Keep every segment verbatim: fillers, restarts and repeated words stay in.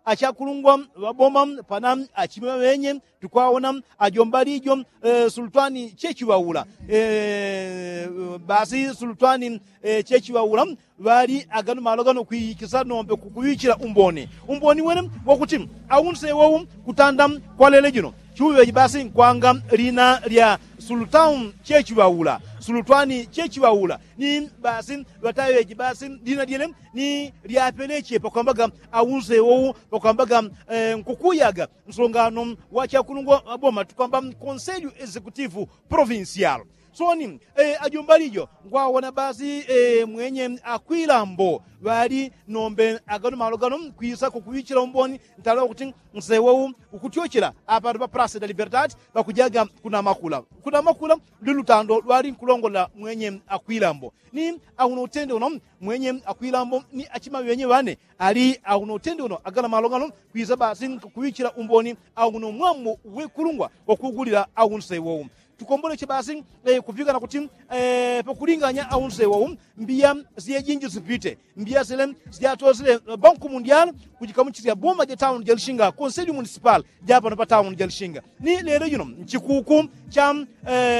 Achakulungwa ŵaboma pana achime ŵaŵenye tukwawona ajomba lijo. Sulutwani chechiŵaula basi sulutwani chechiŵaula ŵali agano malo gano kwikisa nombe kukuŵichila umboni umboni wene wakuti aunse wowu kutanda kwa lele jino chuŵeji basi nkwanga lina lya sulutaun chechiŵaula sulutwani chechiŵaula ni basi ŵataŵeji basi lina lyele ni lyapeleche pakwambaga aunse wowu pakwambaga nkukuyaga nsongano wa chakulungwa ŵaboma tukwamba konselyu exekutivu provincial. Soni ajomba lijo ngwawona basi mwenye akwilambo ŵali nombe agano malo gano kwisa kukuŵichila umboni ntala wakuti nsewowu ukutyochela apatu pa prase da liberdade pakujaga kunamakula kunamakula ndi lutando lwali nkulongolela mwenye akwilambo ni auno utende uno mwenye akwilambo ni achima ŵenye ŵane ali auno utende uno agano malo gano kwisa basi nkukuŵichila umboni auno mwambo wekulungwa wakugulila aunse wowu. Tukomboleche basi kupikana kuti pakulinganya aunse wowu mbiya syejinji sipite mbiya sile syatosile banku mundial kujikamuchisya boma ja tauni ja lishinga konselyu munisipal ja pano pa tauni ja lishinga ni lelo jino nchikuku cha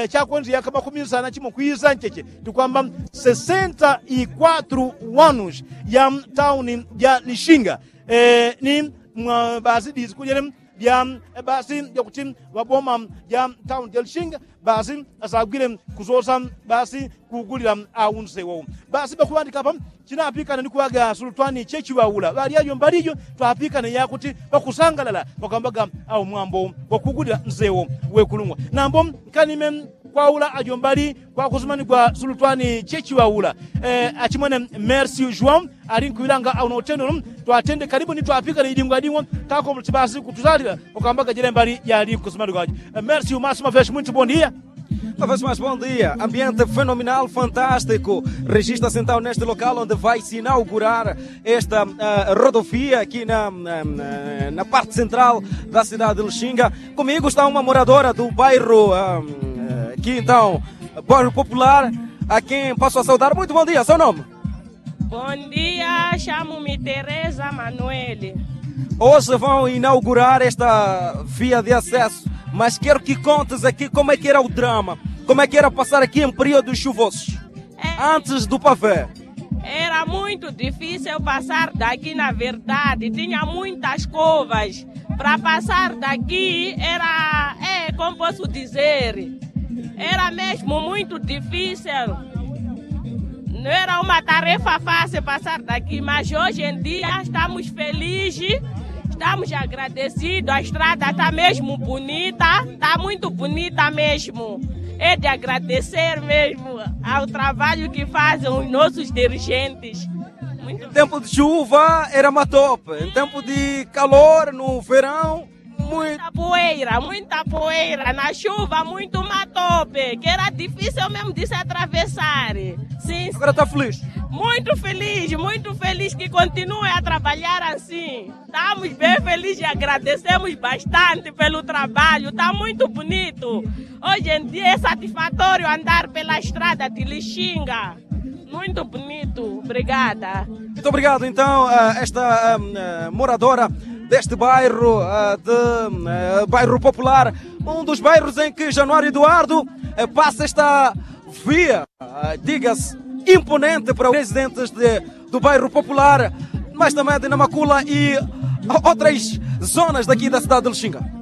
chakwendya yaka makumi sana chimo kwisa ncheche tukwamba sesenta y kwatru wanus ya tauni ja lishinga ni basi disi kujele bya basi jakuti ŵaboma ja tauni ja lishinga basi asagwile kusosa basi kugulila aunse wowu basi pakuŵandika apa chinapikane ni kuŵaga sulutwani chechiŵaula ŵali ajomba lijo twapikane yakuti pakusangalala pakwambaga au mwambo wakugulila nsewo wekulungwa nambo nkanime kwaula ajomba li kwakusumanigwa sulutwani chechiŵaula achimwene mersi juan ali nkuŵilanga auno utende uno twatende kalibu ni twapikane idingwa idingwa kakomboleche basi kutusalila pakwambaga jele mbali jali nkusumanigwa ajo. Mersi umasuma feshi mwinti bondia. Uma vez mais bom dia, ambiente fenomenal, fantástico. Regista-se então neste local onde vai se inaugurar esta rodovia aqui na parte central da cidade de Lixinga. Comigo está uma moradora do bairro aqui então, bairro popular, a quem passo a saudar. Muito bom dia, seu nome? Bom dia, chamo-me Teresa Manuel. Hoje vão inaugurar esta via de acesso, mas quero que contes aqui como é que era o drama, como é que era passar aqui em períodos chuvosos, antes do pavé. Era muito difícil passar daqui, na verdade, tinha muitas curvas. Para passar daqui era, é, como posso dizer, era mesmo muito difícil. Não era uma tarefa fácil passar daqui, mas hoje em dia estamos felizes, estamos agradecidos. A estrada está mesmo bonita, está muito bonita mesmo. É de agradecer mesmo ao trabalho que fazem os nossos dirigentes. Em tempo de chuva era matope, em tempo de calor, no verão, muita poeira, muita poeira, na chuva muito matope, que era difícil mesmo de se atravessar. Sim. Agora está feliz? Muito feliz, muito feliz que continue a trabalhar assim. Estamos bem felizes e agradecemos bastante pelo trabalho, está muito bonito. Hoje em dia é satisfatório andar pela estrada de Lixinga. Muito bonito, obrigada. Muito obrigado, então, esta moradora deste bairro, de bairro popular, um dos bairros em que Januário Eduardo passa esta via, diga-se, imponente para os residentes de, do bairro popular, mas também de Namacula e outras zonas daqui da cidade de Lixinga.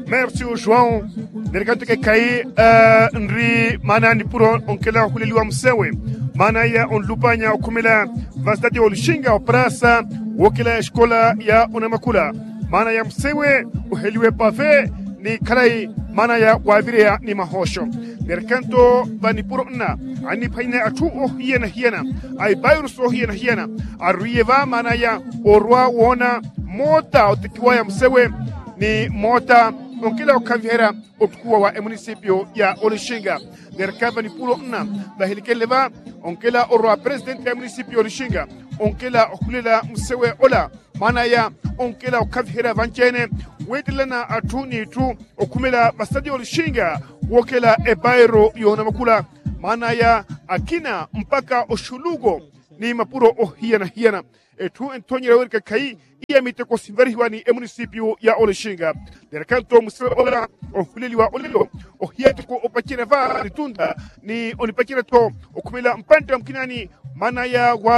Mersi ushwau. Nerikantu kekayi ndri mana nipuro onkela ohuleliwa msewe mana ya onlupanya okhumela vasitati olushinga oprasa wokela esikola ya onamakula mana ya msewe oheliwe pave ni khalayi mana ya wavireya ni mahosho. Nerikantu vanipuro nna aniphanyine athu ohiyanahiyana aipairusi ohiyanahiyana arwiye va mana ya orwa wona mota otikiwa ya msewe ni mota onkela okhavihera otukuwa wa emunisipio ya olishinga. Nerkava ni pulo nna vahilikele va onkela orwa presidenti ya emunisipio ya olishinga onkela ohulela musewe ola mana ya onkela okhavihera vanchene wetelelana athu ni ithu okhumela vasadi ya olishinga wokela ebairo yona makula mana ya akina mpaka oshulugo ni mapuro ohiyanahiyana. Etu entonyela wele kakai iya miteko simvalihiwa ni emunisipyu ya oleshinga. Dela kanto musila ola ohuleliwa olelo ohiyateko opachela va litunda ni onipachela to okumela mpanda mkinani manaya wa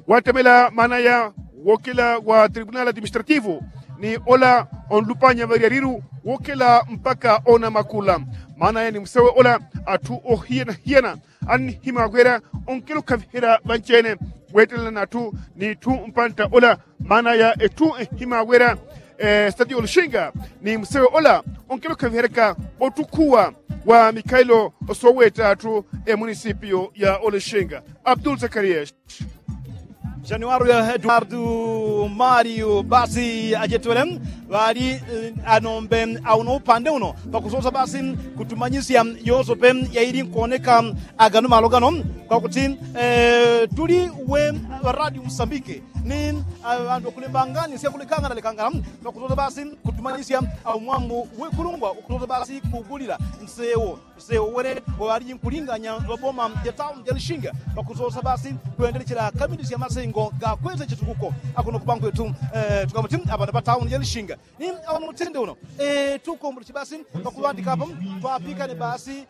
watemela manaya wokela wa tribunali administrativu ni ola onlupanya valyalilu wokela mpaka ona makula. Manaya ni musewe ola atu ohiyanahiyana anihima wela onkelo kavihela vanchene wetelela natu ni tu mpanda ola manaya etu ehima wela. Stati olushinga ni musewe ola onkelo kaviheleka otukuwa wa mikailo osoweta atu emunisipyo ya olushinga. Abdul zakariya. Januario eduardo mario basi ajetwele ŵali anombe auno upande uno pakusosa basi kutumanyisya yosope yaili nkuoneka agano malo gano kwakuti tuli we radio msambike ni ŵandu wakulembangani syakulekangana lekangana pakusosa basi kutumanyisya aumwambo wekulungwa ukusosa basi kugulila nsewo nsewo wele waŵaliji nkulinganya ŵaboma ja tauni ja lishinga pakusosa basi kwendelechela kamili sya masengo gakwete chitukuko akuno kubankwetu tukamuti aŵana ŵa tauni ja lishinga ni aŵana mutende uno tukombolechi basi pakuŵandika apa twapikane basi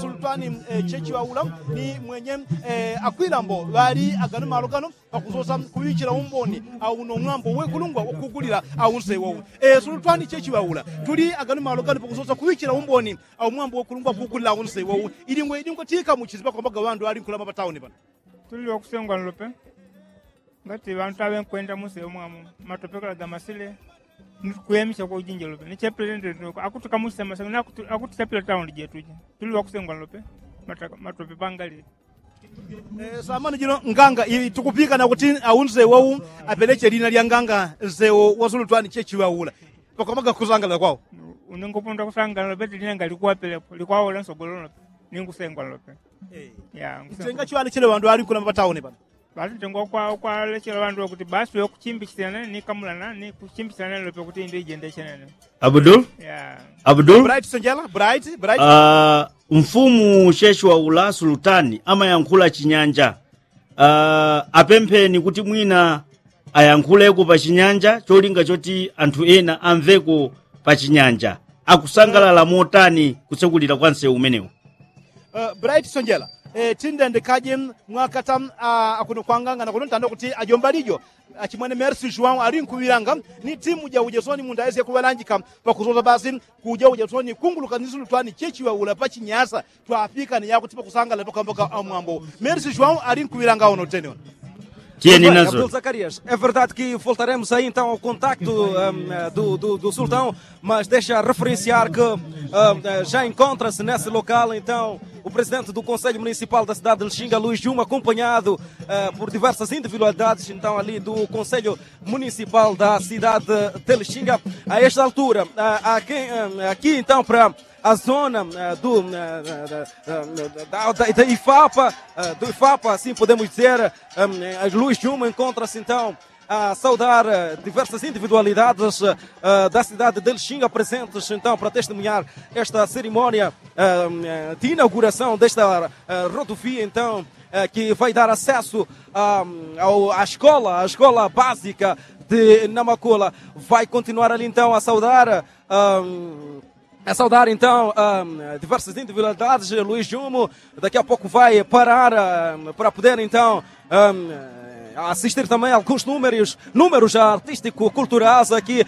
sulutwani chechi ŵaula ni mwenye akwilambo ŵali agano malo gano pakusosa kuŵichila umboni auno mwambo wekulungwa ukugulila aunse wowu. Sulutwani chechi ŵaula tuli agano malo gano pakusosa kuŵichila umboni aumwambo wekulungwa ukugulila aunse wowu. Ilingwe ilingwe tika muchizi pakwambaga ŵandu ŵali nkulama patauni pano. Tuli wakusengwa nlope ngati ŵantu aŵenkwenda muse umwamu matopekela gamasile. Nikuyemisya kwa ujinjelo pe nichepele ndende akutukamusisa masango nakutuchapila tauni jetu je. Tuli wakusengwa nlope matope pangali. Samani jino nganga tukupikana kuti aunze wau apeleche lina lya nganga nzeo wasulutwani chechi waula pakwamaga kusangalala kwao. Unengoponda kusangalala pete lina ngalikuwapelepo likwaula nsogololo pe. Ninkusengwa nlope. Ntenga chiwani chile wandu ali kuna mapatauni pano. Basi ntengo kwa kwa lechela ŵandu ŵakuti basi ŵakuchimbichisya nene ni kamulana ni kuchimbichisya nene lope kuti indi ijendeshe nene. Abdul. Abdul. Bright senjela bright bright. Mfumu sheshiwa ula sulutani amayankhula chinyanja. Apempheni kuti mwina ayankhuleko pa chinyanja cholinga choti anthu ena amveko pa chinyanja. Akusangalala motani kutsekulira kwa nsewu umenewu? Bright sonjela tindendekaje mwakata akuno kwangangana kuno ntanda kuti ajomba lijo achimwene mersi juwau ali nkuŵilanga ni timu ja ujesoni mundu aesye kuŵalanjika pakusosa basi kuja ujesoni kunguluka ni sulutwani chechiŵaula pa chinyasa twapikane yakuti pakusangala pakamboka amwambo. Mersi juwau ali nkuŵilanga uno tene uno. Tiyeni nazo. Abdul zakarias é verdade que voltaremos aí então ao contacto do sultão. Mas deixa referenciar que já encontra-se nesse local então o presidente do conselho municipal da cidade de lixinga luís juma acompanhado por diversas individualidades então ali do conselho municipal da cidade de lixinga. A esta altura aqui então para a zona do da ifapa do ifapa assim podemos dizer luís juma encontra-se então a saudar diversas individualidades da cidade de lixinga presentes então para testemunhar esta cerimónia de inauguração desta rodovia então que vai dar acesso à escola à escola básica de namacola. Vai continuar ali então a saudar a saudar então diversas individualidades luís juma daqui a pouco vai parar para poder então assistir também alguns números números artístico culturais aqui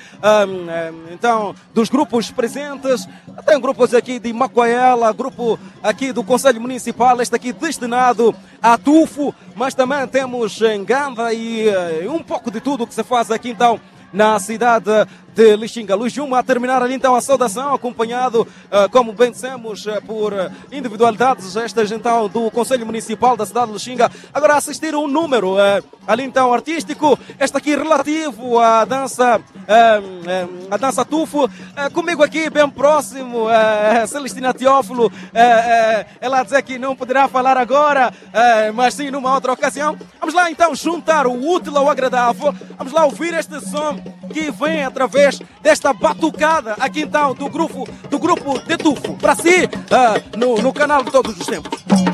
então dos grupos presentes. Tem grupos aqui de macoela grupo aqui do conselho municipal este aqui destinado a tufo mas também temos em ganda e um pouco de tudo que se faz aqui então na cidade de lixinga luís juma a terminar ali então a saudação acompanhado como bem dissemos por individualidades estas então do conselho municipal da cidade de lixinga. Agora assistir um número ali então artístico este aqui relativo à dança a dança tufo. Comigo aqui bem próximo celestina teófilo ela dizer que não poderá falar agora mas sim numa outra ocasião. Vamos lá então juntar o útil ao agradável. Vamos lá ouvir este som que vem através desta batucada aqui então do grupo do grupo de tufo para si no canal de todos os tempos.